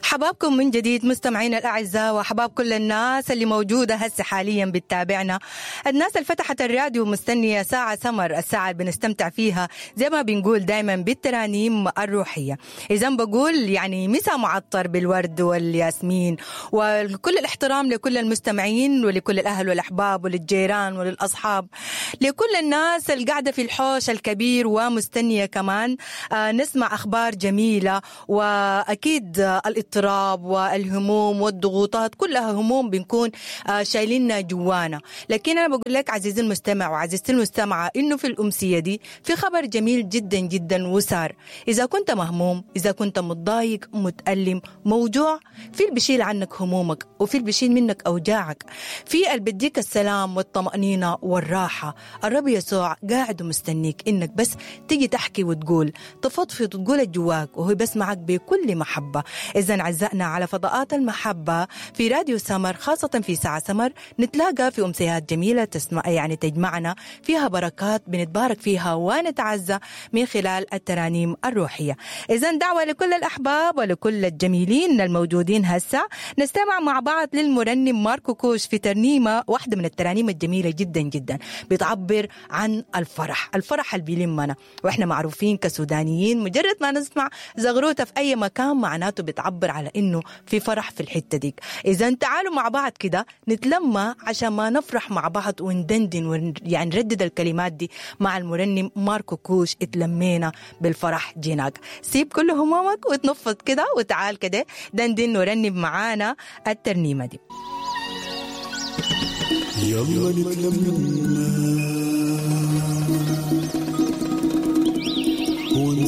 حبابكم من جديد مستمعينا الأعزاء، وحباب كل الناس اللي موجودة هسه حاليا بتتابعنا، الناس اللي فتحت الراديو مستنية ساعة سمر، الساعة اللي بنستمتع فيها زي ما بنقول دايما بالترانيم الروحية. إذا بقول يعني مسا معطر بالورد والياسمين، وكل الاحترام لكل المستمعين ولكل الأهل والأحباب وللجيران وللأصحاب، لكل الناس اللي قاعدة في الحوش الكبير ومستنية كمان نسمع أخبار جميلة. وأكيد الاضطراب والهموم والضغوطات كلها هموم بنكون شايلينها جوانا، لكن أنا بقول لك عزيزي المستمع وعزيزتي المستمعة إنه في الأمسية دي في خبر جميل جدا جدا وسار. إذا كنت مهموم، إذا كنت متضايق، متألم، موجوع، في اللي بيشيل عنك همومك، وفي اللي بيشيل منك أوجاعك، في اللي بيديك السلام والطمأنينة والراحة. الرب يسوع قاعد ومستنيك إنك بس تيجي تحكي وتقول، تفضفض وتقول جواك، وهو بسمعك بكل محبة. إذا عزائنا على فضاءات المحبة في راديو سمر، خاصة في ساعة سمر، نتلاقى في أمسيات جميلة تسمع يعني تجمعنا فيها بركات بنتبارك فيها ونتعزى من خلال الترانيم الروحية. إذا دعوة لكل الأحباب ولكل الجميلين الموجودين هسه نستمع مع بعض للمرنم ماركو كوش في ترنيمة واحدة من الترانيم الجميلة جدا جدا، بتعبر عن الفرح، الفرح اللي بيلمنا، وإحنا معروفين كسودانيين مجرد ما نسمع زغروتة في أي مكان معناته بتعبر على إنه في فرح في الحتة ديك. إذا تعالوا مع بعض كده نتلمى عشان ما نفرح مع بعض وندندن يعني نردد الكلمات دي مع المرنم ماركو كوش، اتلمينا بالفرح جيناك. سيب كل همومك وتنفض كده وتعال كده دندن ورنم معانا الترنيمة دي. يلا نتلمى